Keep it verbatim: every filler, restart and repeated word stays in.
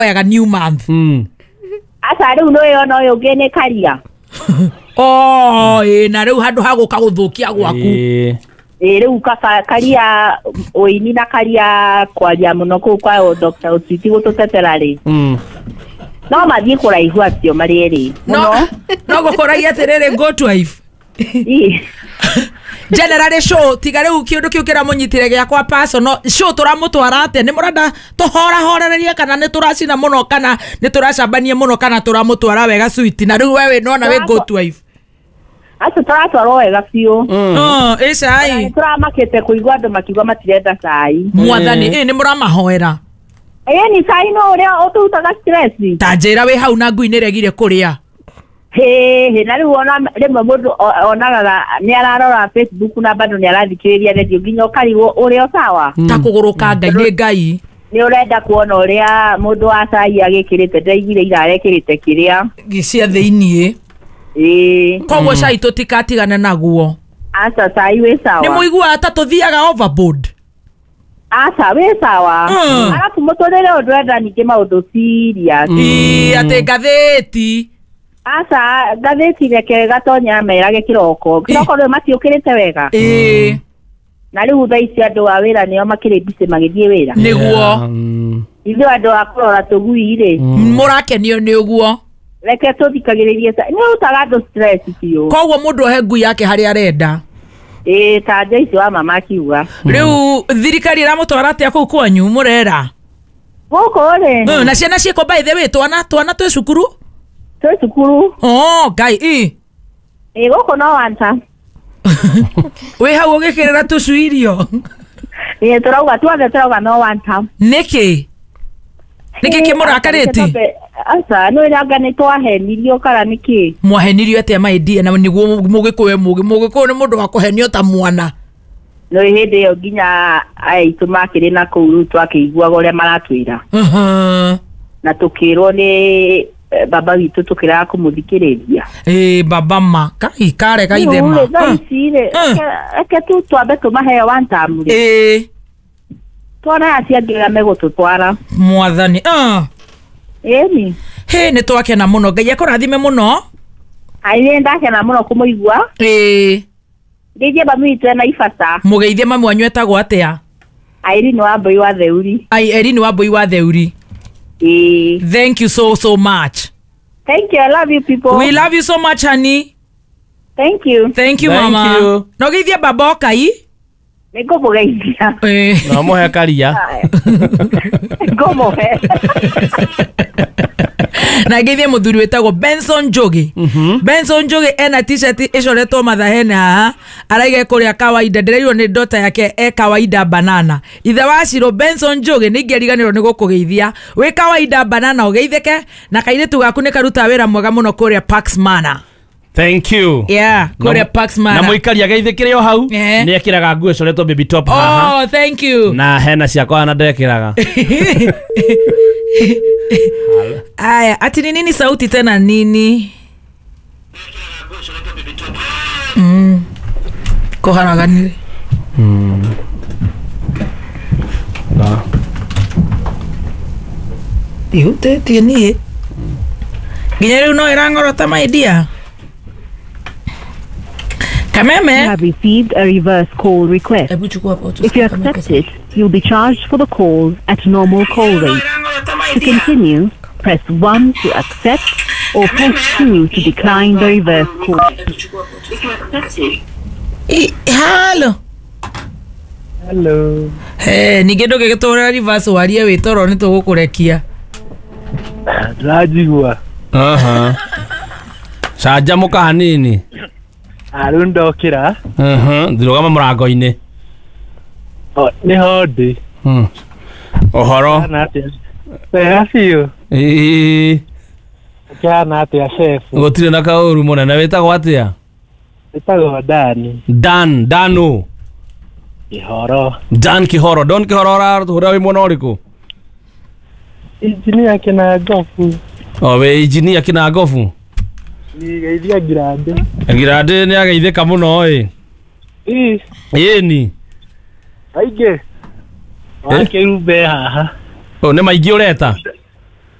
Mahoyaga new month. Mm. Aca rĩu nĩ ona ũyũ ũngĩ nĩ karia. Oh, ĩ na rĩu handũ ha gũka gũthũkia gwaku. Ĩĩ. Ĩ rĩu kaba karia ũini na karia kwaria mũno kũu kwa Doctor Otiti gũtũtetera rĩ. Mm. No mathiĩ kũraihu acio marĩ erĩ. No Mũno. no gũkũragia atĩrĩrĩ, go to wife. Ĩ. Generally show tiga rĩu kĩũndũ kĩu kĩramũnyitire gĩakwa personal show tũramũtwara atĩa? Nĩ mũrenda tũhorahorerie kana nĩ tũracina mũno kana nĩ tũracambania mũno kana tũramũtwara wega sweet? Na rĩu we wĩ nona wĩ go to wife. Acio tũratwarwo wega biũ. Mm. Oh, ĩ cai. Nĩ tũramakĩte kũigua andũ makiuga matirenda cai. Mwathani, ĩ nĩ mũramahoera. Ĩ ni cai no ũrĩa ũtũrutaga stress. Ta njĩra wĩ hau na ngui nĩ regire kũrĩa. Hĩ hĩ, na rĩu ona rĩmwe mũndũ o- onaga nĩ ararora Facebook na bado nĩ arathikĩrĩria radio nginya ũkarigwo ũrĩa o sawa. Ta kũgũrũka Ngai nĩ Ngai. Nĩ ũrenda kuona ũrĩa mũndũ wa cai agĩkĩrĩte, ndaiguire ira arekĩrĩte kĩrĩa. Cia thĩiniĩ. Ĩĩ. Koguo cai tũtikatigane naguo. Aca cai wĩ sawa. Nĩ mũiguaga ta tũthiaga overboard. Aca wĩ sawa. Mm. Arabu mũtũrĩre ũndũ enda ningĩ maũndũ serious. Ĩ atĩ ngathĩti. Aca ngathĩti reke gatonya merage kĩroko. Kĩroko rĩu matiũkĩrĩte wega. Ĩ. Na rĩu thaa ici andũ a wĩra nĩo makĩrĩ busy magĩthiĩ wĩra. Nĩguo. Mm. Ithuĩ andũ a kũrora tũgui rĩ. Mũrakenio nĩ ũguo. Reke tũthikagĩrĩrie ca-, nĩ ũrutaga andũ stress biũ. Koguo mũndũ ohe ngui yake harĩa arenda. Ĩ ta nja icio wa mama akiuga. Rĩu thirikari ĩramũtwara atĩa kũu kwanyu mũrera? Gũkũ rĩ. Mm, na ciana ciĩkũ by the way, twana twana twĩ cukuru? Twĩ cukuru. Oh, Ngai, ĩ. Ĩ gũkũ no wanta. Wĩ hau ũgĩkĩrĩra tũcui irio? Ĩ tũrauga tuothe tũrauga no wanta. Nĩkĩ? Nĩkĩ kĩmũrakarĩtie? Aca nĩ ũrĩa nĩ twahenirio kana nĩkĩ? Mwahenirio atĩa my dear? Na nĩguo mũgĩkũyũ mũgĩ mũgĩkũyũ nĩ mũndũ wa kũhenio ta mwana. No hĩndĩ ĩyo nginya aitũ makĩrĩ na kũu rĩu twakĩiguaga ũrĩa maratwĩra. Mhm. Na tũkĩrwo nĩ baba witũ tũkĩraga kũmũthikĩrĩria. Ĩ baba ma kai kare kaithe ma. Rĩu thaa ici rĩ, reke tu twambe tũmahe one term rĩ. Ĩ. Tuone acio angĩ ũrĩa megũtũtwara. Mwathani. Ah. Ĩni. Hĩ nĩ twakena mũno. Ngai akũrathime mũno. Ai nĩ ndakena mũno kũmũigua. Ĩ. Ngeithie mami witũ ena ibata. Mũgeithie mami wanyu etagwo atĩa? Irene wa Mbui wa Theuri. Ai Irene wa Mbui wa Theuri. Ĩ. Thank you so so much. Thank you. I love you people. We love you so much honey. Thank you. Thank you Thank mama. you. No geithie baba okai. Nĩ ngũmũgeithia. Ĩ. No mũhe karia. Ngũmũhe. Na ngeithie mũthuri wĩtagwo Benson Njogi. Benson Njogi ena t-shirt ĩcoretwo mathahene haha araiga kũrĩa kawaida, ndĩreirwo nĩ ndota yake e kawaida banana. Ithe wa Ciro Benson Njogi nĩ ingĩariganĩrwo nĩ gũkũgeithia. Wĩ kawaida banana ũgeithĩke na kairĩtu gaku nĩ karuta wĩra mwega mũno kũrĩa Pax Manor. Thank you. Yeah, kũrĩa Pax Na Manor. mũikari ageithĩkĩre o hau. Eh. Nĩ ekĩraga nguo ĩcoretwo baby top haha. Oh, thank you. Na hena ciakwa na ndekĩraga. Aya, ati ni nini sauti tena nini? Mm. Koharaganire. Mm. Na. Ihutĩtie niĩ. Nginya rĩu no ĩrang'orota my dear. Kameme. You have received a reverse call request. Hebu chukua hapo If you accept it, you'll be charged for the call at normal call rate. To continue, press one to accept or press two to decline the reverse call. I, halo. Hello. Hey, ningĩ ndũngĩgĩtũrĩra reverse warie wĩ toro nĩ tũgũkũrekia. Ndĩranjigua. Aha. Canjamũka hanini. Rĩu ndokĩra. Mhm, ndĩrũgama mũrango-inĩ. Nĩho ndĩ. Mm. Ũhoro. Hana atĩa? Wega biũ. Ĩĩ. Ũkĩhana atĩa chef? Gũtirĩ na kaũru mũnene. Wĩtagwo atĩa? Wĩtagwo Dan. Dan, Dano. Kĩhoro. Dan Kĩhoro. Don Kĩhoro ũratũhũrĩra wĩ mwena ũrĩkũ? Injinia Kĩnangobu. O wĩ injinia Kĩnangobu? Nĩgeithia Ngirandĩ. Ngirandĩ nĩ ageithĩka mũno ĩ. Ĩ. Ĩni. Aingĩ. Wakĩrumbe haha. O nĩ maingĩ ũreta?